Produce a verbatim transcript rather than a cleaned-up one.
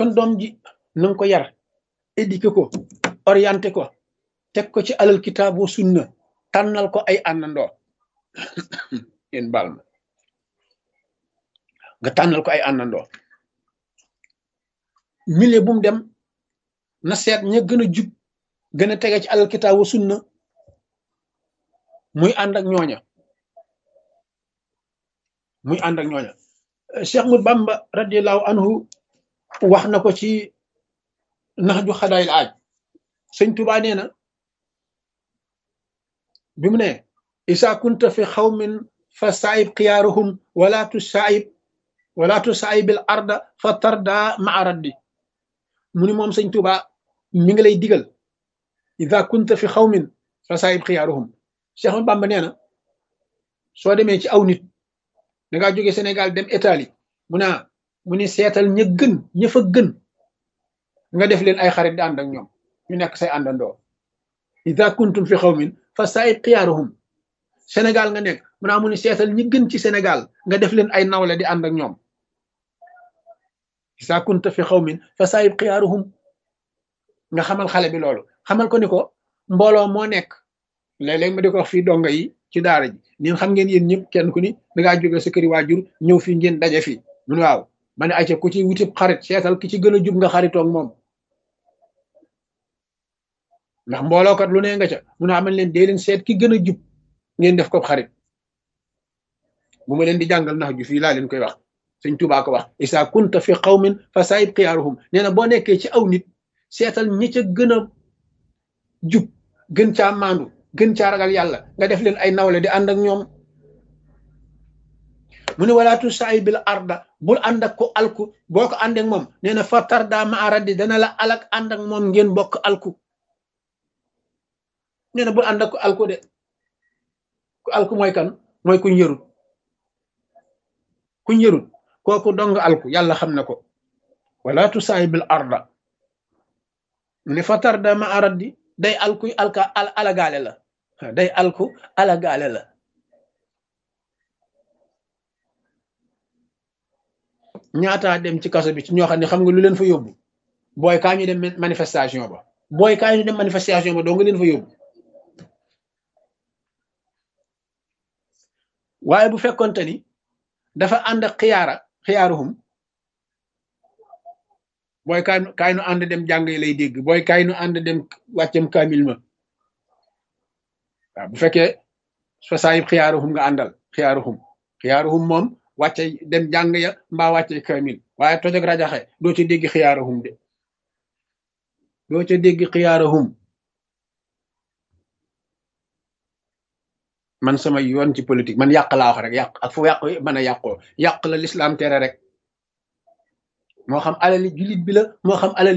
kon doom ji na nga ko yar éduqué ko orienté ko teg ko ci alal kitaabu sunna tànnal ko ay àndandoo yéen baal ma nga tànnal ko ay àndandoo milieu bu mu dem na seet ña gën a jub gën a tege ci alal kitaabu sunna muy ànd ak ñooña muy ànd ak ñooña Cheikh Ahmadou Bamba radiallahu anhu wax na ko ci nax ju xadaayil aaj sëñ Tuubaa nee na bi mu ne isa kunta fi xawmin fa saayib xiyaaruhum wala tu saayib wala tu saayibil arda fa tarda maa raddi mu ni moom sëñ Tuubaa mi ngi lay digal isa kunta fi xawmin fa saayib xiyaaruhum Cheikh Ahmadou Bamba nee na soo demee ci aw nit da ngaa jóge Sénégal dem Italie mu naa mu ni seetal ña gën ña fa gën nga def leen ay xarit di ànd ak ñoom ñu nekk say àndandoo ida kuntum fi xawmin fa saayib xiyaaruhum Sénégal nga nekk mu naa mu ni seetal ñi gën ci Sénégal nga def leen ay nawle di ànd ak ñoom ida kunta fi xawmin fa saayib xiyaaruhum nga xamal xale bi loolu xamal ko ni ko mbooloo moo nekk léeg-léeg ma di ko wax fii donga yi ci daara ji ñun xam ngeen yéen ñëpp kenn ku ni dangaa jóge sa këri waajur ñëw fii ngeen daje fii mun waaw ma ne ayca ku ci wutib xarit seetal ki ci gën a jub nga xaritoog moom ndax mboolookat lu ne nga ca mun a amal leen dee leen seet ki gën a jub ngeen def ko xarit bu ma leen di jàngal nax ju fii laa leen koy wax sëñ Tuubaa ko wax isa kunta fi qawmin fa saayib xiyaaruhum nee na boo nekkee ci aw nit seetal ñi ca gën a jub gën caa maandu gën caa ragal yàlla nga def leen ay nawle di ànd ak ñoom mu ne walaatu saay bil arda bul ànd ak ko alku boo ko ànd ak moom nee na fa tarda ma raddi dana la alak ànd ak moom ngeen bokk alku nee na bul ànd ak ko alku de ku alku mooy kan mooy kuñ yërut kuñ yërut kooku dong alku yàlla xam na ko walaatu saay bil arda mu ne fa tarda ma raddi day alku alka al alagaale la day alku alagaale la ñaataa dem ci kaso bi ci ñoo xam ne xam nga lu leen fa yóbbu booy kaa ñu dem manifestation ba booy kaa ñu dem manifestation ba doo nga leen fa yóbbu waaye bu fekkonte ni dafa ànd ak xiyaara xiyaaruhum booy kaay kaay nu ànd dem jàng yi lay dégg booy kaay nu ànd dem wàccem kaamil ma waaw bu fekkee fa saayib xiyaaruhum nga àndal xiyaaruhum xiyaaruhum moom wàcce dem jàng ya mbaa wàcce kaamil waaye toj ak rajaxe doo ca dégg xiyaaruhum de doo ca dégg xiyaaruhum man sama yoon ci politique man yàq laa wax rek yàq ak fu yàq mën a yàqoo yàq la lislaam tere rek moo xam alali jullit bi la moo xam alali